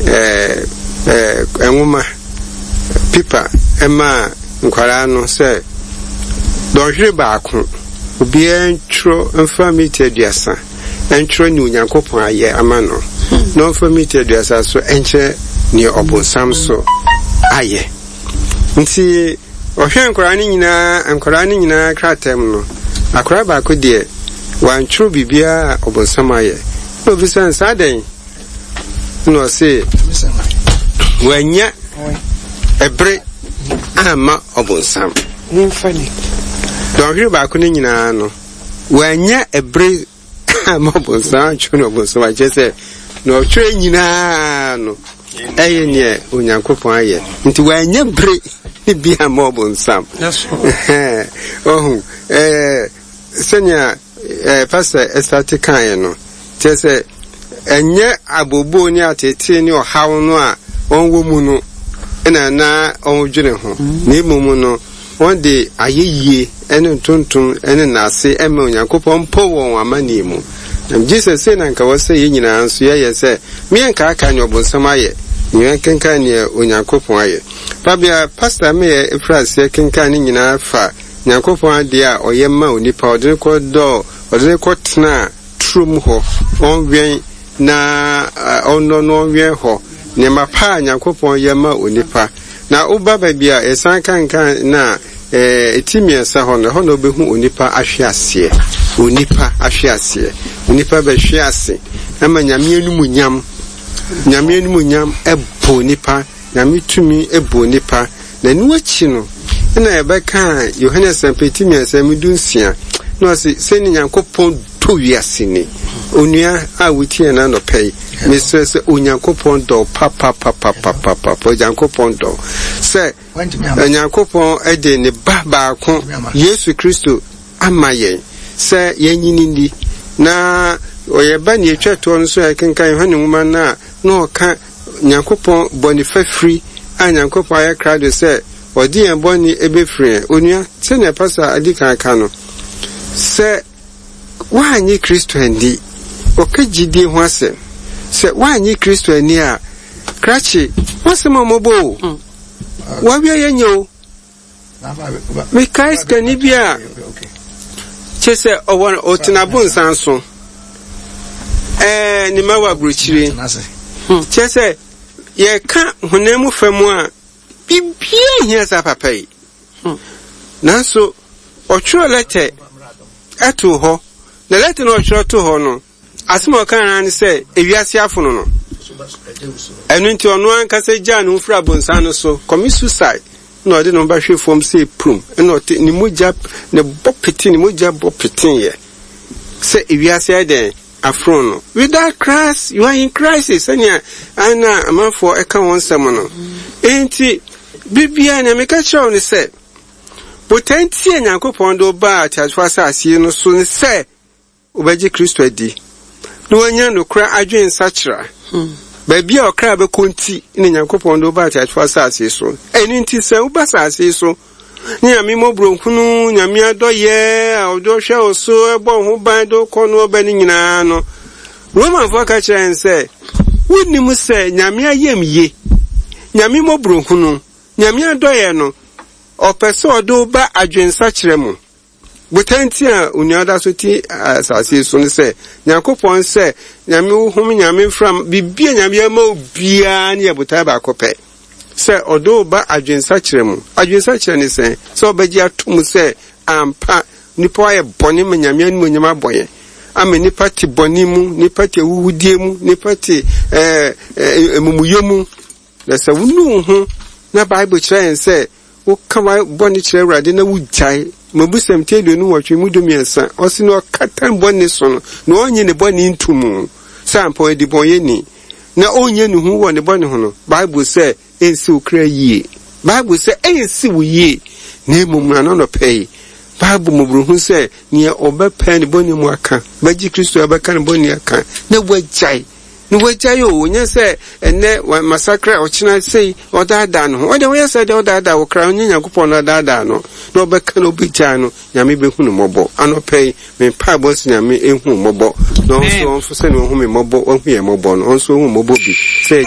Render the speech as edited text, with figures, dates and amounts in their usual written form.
ɛɛ nwoma, pipa maa nkwadaa no sɛ dɔnhwere baako obiara ntwerɛ mfa mita 30 ntwerɛ nea Onyankopɔn ayɛ ama no, na ɔmfa mita 30 so nkyerɛ nea ɔbonsam so ayɛ. Nti ɔhwɛɛ nkwadaa no nyinaa, nkwadaa no nyinaa krataa mu no, akwadaa baako deɛ, wantwerɛ biribiara a ɔbonsam ayɛ. Na obisa no sɛ, adɛn? Na ɔse, wanya ɛbere amma ɔbonsam. Dɔnhwere baako no nyinaa no, wanya ɛbere amma ɔbonsam antwerɛ no ɔbonsam akyerɛ sɛ na ɔtwerɛ nyinaa no ɛyɛ neɛ Onyankopɔn ayɛ nti wanya bere ne bi amma ɔbonsam. Ɔhu ɛɛ sɛnea ɛɛ pastor ɛsate kaeɛ no kyerɛ sɛ ɛnyɛ abooboo ne ateetee ne ɔhaw no a wɔwɔ mu no na na wɔdwene ho na mmom no Wɔde ayɛyie ne ntontom ne nnaase ma Onyankopɔn mpo wɔ wɔn amanneɛ mu. Na megye sɛ sei na anka ɛwɔ sɛ yɛn nyinaa nso yɛyɛ sɛ meɛnkaakae nea ɔbonsam ayɛ, na yɛnkenkan nea Onyankopɔn ayɛ. Babea Pastor Meyɛ firi aseɛ kenkan ne nyinaa fa Nyankopɔn adeɛ a ɔyɛ ma onipa, ɔde no kɔdɔɔ, ɔde no kɔtenaa turom hɔ, ɔnwɛn na ɔnnɔ no ɔnwɛn hɔ. Nneɛma pa a Nyankopɔn yɛ ma onipa. Na woba baabi a yɛsan kenkan no a, ti mmiɛnsa hɔ no, ɛhɔ na wobɛhu onipa ahweaseɛ. Onipa ahweaseɛ. Onipa bɛhwe ase ma Nyame animuonyam. Nyame animuonyam bɔ onipa. Nyame tumi bɔ onipa. Na ɛno akyi no, ɛna yɛbɛkaa Yohane Asɛmpa ti mmiɛnsa mu 16, na ɔse, sɛnea Nyankopɔn dɔ wiase ni. Onua a wotie yɛn anɔpa yi, mesrɛ sɛ Onyankopɔn dɔ wo papapapapapapa. Onyankopɔn dɔ wo. Sɛ Onyankopɔn de ne ba baako, Yesu Kristo, ama yɛn sɛ yɛnye no nni. Na ɔyɛ ba nea etwa toɔ no so a yɛkenkan Yohane nwoma no a, na ɔka Nyankopɔn bɔne fafiri a Nyankopɔn ayɛ krado sɛ ɔde yɛn bɔne bɛfiri yɛn. Onua, sɛnea Pastor adi kan aka no, sɛ woannye Kristo anni, ɔka gyidie ho asɛm, sɛ woannye Kristo anni a, krakye, w'asɛm a mmɔbɔ o, w'awia yɛ nyɛ o. Mekae sikani bi a kyerɛ sɛ ɔwɔ ɔtena abonsan so. Ɛɛ ne mma wɔ aburokyire. Kyerɛ sɛ yɛka honam mu fam a biribiara hia saa papa yi. Nanso ɔtwerɛ lɛtɛ ɛtoo hɔ. Na lɛtɛ no ɔtwerɛ too hɔ no, Asɛm a ɔkae ara ne sɛ ewiase afono no. Ɛno nti ɔno ankasa gyaa ne ho firi abonsan no so, commit suicide, na ɔde ne ho bɛhwe fam sɛ prum, ɛna ɔte ne mogya ne bɔ pete ne mogya bɔ peteeɛ sɛ ewiase ayɛ dɛn afono no. Without Christ, you are in crisis, sɛnea ana amanfoɔ ɛka wɔn nsɛm no. Enti, biribiara nea meka kyerɛ wo ne sɛ, botae nti a Nyankopɔn de wo baa ateasefo asase yi no so ne sɛ Wobɛgye Kristo adi na woanya nokorɛ adwene nsakyera. Baabi a ɔkra bɛkɔ nti na Nyankopɔn de wo ba ateasefoɔ asase so. Ɛno nti sɛ woba asase yi so ne Nyame mmɔborɔhunu, Nyame adɔyɛ a ɔde ɔhwɛ wo so, ɛbɔ wo ho ban de wo kɔ no ɔba no nyinaa no, Romanfoɔ ka kyerɛ yɛn sɛ, wonnim sɛ Nyame ayamye, Nyame mmɔborɔhunu, Nyame adɔyɛ no, ɔpɛ sɛ ɔde wo ba adwensakyera mu. Botae nti a onua da so te asase yi so ne sɛ, Nyankopɔn sɛ Nyame wo home, Nyame mframa, biribi a Nyame ama wo biara ne yɛ botae baako pɛ, sɛ ɔde wo ba adwensakyera mu. Adwensakyera ne sɛn? Sɛ wobɛgye ato mu sɛ ampa nnipa ayɛ bɔne ma Nyame animuonyam abɔ yɛn, ama nnipa te bɔne mu, nnipa te ahuhudie mu, nnipa te ɛɛ amumuyɛ mu. Na sɛ wonu wo ho na Bible kyerɛ yɛn sɛ Woka w'bɔne kyerɛ Awurade na wugyae. Mmebusɛm ti 28 mu 13, ɔse na ɔkata ne bɔne so no, na ɔnnye ne bɔne nto mu sɛ ampa ɔyɛ debɔnyɛni, na ɔnyɛ ne hu wɔ ne bɔne ho no, Bible sɛ ɛnsi wo kra yie. Bible sɛ ɛnsi wo yie, na mmom no anɔnɔpɛ yi, Bible mmɔborɔhunu sɛ nea ɔbɛpae ne bɔne mu aka, bɛgye Kristo a bɛka ne bɔne aka, na wagyae. Na wagyae o, ɔnyɛ sɛ ɛnnɛ masakra, ɔkyena sei, ɔdaadaa ne ho. Ɔdeɛ woyɛ sɛ deɛ ɔdaadaa wo kra, ɔnyɛ Nyankopɔn na ɔdaadaa no, na ɔbɛka na ɔbɛgyaa no, Nyame bɛhu no mmɔbɔ. Anɔpa yi, me mpaebɔ sɛ Nyame ɛhu wo mmɔbɔ, na ɔnso ɔnso sɛdeɛ ɔhu me mmɔbɔ, wahu yɛn mmɔbɔ no, ɔnso ɔhu mmɔbɔ bi, sɛ.